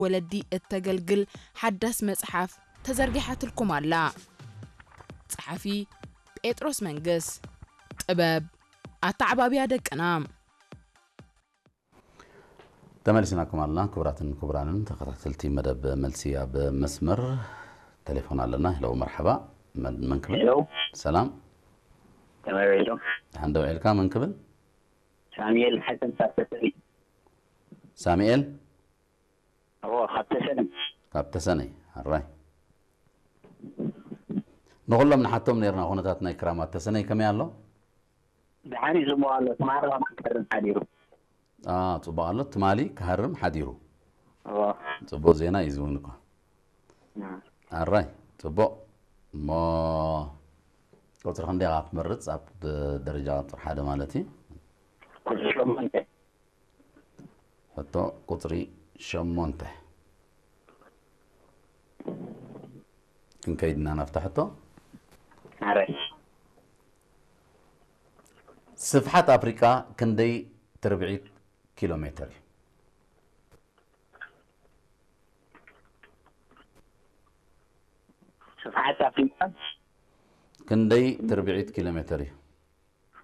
ወለዲ እተገልግል ሓዳስ መጽሓፍ ተዘርጊሓትልኩም ኣላ። ጸሓፊ ጴጥሮስ መንግስ። ጥበብ ኣተዓባብያ ደቅና። ተመሊስናኩም ኣለና። ክቡራትን ክቡራንን ተኸታተልቲ መደብ መልሲ ኣብ መስመር ቴሌፎን ኣለና። ሄሎ፣ መርሓባ። መን መን ክብል? ሄሎ፣ ሰላም፣ ከመይ ውዒልኩም? ደሓን ዶ ውዒልካ? መን ክብል? ሳሙኤል ሓሰን ካብ ተሰሪ። ሳሙኤል እዎ፣ ካብ ተሰሪ። ካብ ተሰነይ። ኣራይ፣ ንኹሎም ንሓቶም ነርና። ኩነታት ናይ ክራማት ተሰነይ ከመይ ኣሎ? ደሓን እዩ፣ ጽቡቕ ኣሎ። ትማሊ ከማን ክርም ሓዲሩ። አ፣ ጽቡቕ ኣሎ። ትማሊ ክሃርም ሓዲሩ። እዎ። ጽቡቕ ዜና እዩ ዝውን እኳ። ኣራይ፣ ጽቡቕ። እሞ ቁጽሪ ክንደይ ኢኻ ክትመርጽ? ኣብ ደረጃ ቁጽሪ ሓደ ማለት እዩ። ቁጽሪ ሸሞንተ። ሕቶ ቁጽሪ ሸሞንተ። ክንከይድና ናብታ ሕቶ። ኣራይ። ስፍሓት ኣፍሪቃ ክንደይ ትርብዒት ኪሎ ሜትር እዩ? ስፍሓት ኣፍሪቃ ክንደይ ትርብዒት ኪሎ ሜትር እዩ?